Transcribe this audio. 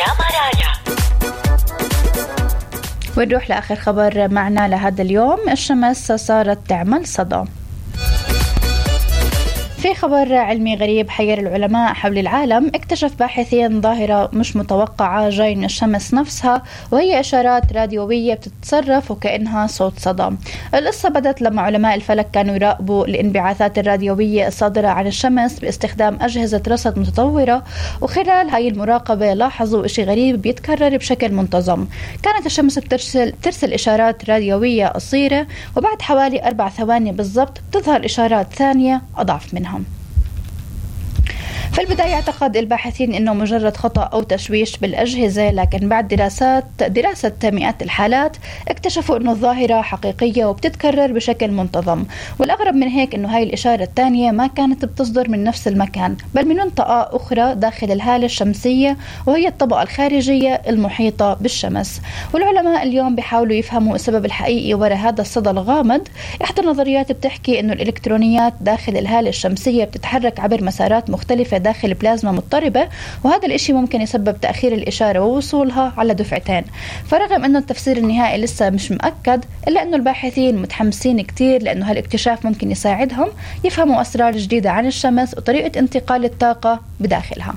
مرايا. ونروح لآخر خبر معنا لهذا اليوم. الشمس صارت تعمل صدى. في خبر علمي غريب حير العلماء حول العالم. اكتشف باحثين ظاهرة مش متوقعة جاي من الشمس نفسها، وهي إشارات راديوية بتتصرف وكأنها صوت صدى. القصة بدت لما علماء الفلك كانوا يراقبوا الانبعاثات الراديوية الصادرة عن الشمس باستخدام أجهزة رصد متطورة، وخلال هاي المراقبة لاحظوا إشي غريب بيتكرر بشكل منتظم. كانت الشمس بترسل إشارات راديوية قصيرة، وبعد حوالي 4 ثواني بالضبط بتظهر إشارات ثانية أضعف منها. في البداية اعتقد الباحثين انه مجرد خطأ او تشويش بالاجهزة، لكن بعد دراسة مئات الحالات اكتشفوا انه الظاهرة حقيقية وبتتكرر بشكل منتظم. والاغرب من هيك انه هاي الاشارة الثانية ما كانت بتصدر من نفس المكان، بل من منطقة اخرى داخل الهالة الشمسية، وهي الطبقة الخارجية المحيطة بالشمس. والعلماء اليوم بيحاولوا يفهموا السبب الحقيقي وراء هذا الصدى الغامض. احدى النظريات بتحكي انه الالكترونيات داخل الهالة الشمسية بتتحرك عبر مسارات مختلفة داخل بلازما مضطربة، وهذا الاشي ممكن يسبب تأخير الإشارة ووصولها على دفعتين. فرغم انه التفسير النهائي لسه مش مؤكد، الا انه الباحثين متحمسين كتير، لانه هالاكتشاف ممكن يساعدهم يفهموا اسرار جديدة عن الشمس وطريقة انتقال الطاقة بداخلها.